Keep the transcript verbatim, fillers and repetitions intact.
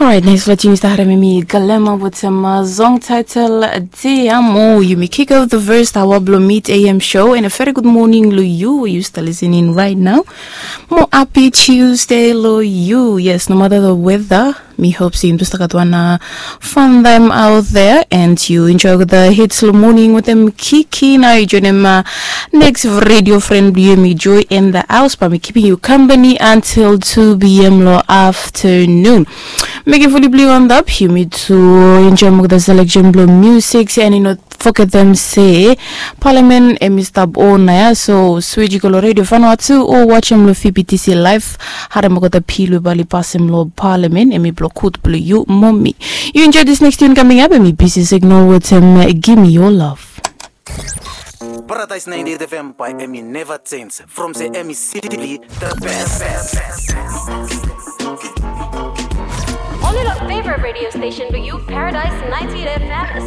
Alright, next la tune yu stap harem mi Galema with some uh, song title Te Amo. Yumi kick off the first hour blo Meet A M show and a very good morning lo yu. Yu stap listening right now. Mo happy Tuesday lo yu. Yes, no matter the weather, mi hope se yumi stap gat wan uh, fun time out there and yu enjoy the hits lo morning with them kiki. Nao yu joinim uh, next radio friend blo yumi Joy in the house, but mi keeping you company until two p.m. lo afternoon. Mekem fuli blo yu antap yumi tu enjoy mo the selection blo music and yu no forget them se Parliament em i stap on na ya, so switch i go lo Radio Vanuatu o watch em lo V B T C live. Harem olgeta pil we bae oli pasem lo Parliament, em i blo kut blo yu mo mi. Yu enjoy this next tune coming up, em i Busy Signal with him, Give Me Your Love. Paradise ninety-eight F M by Emmy never change. From se Emmy City, the best. Only your favorite radio station bring you Paradise ninety-eight F M.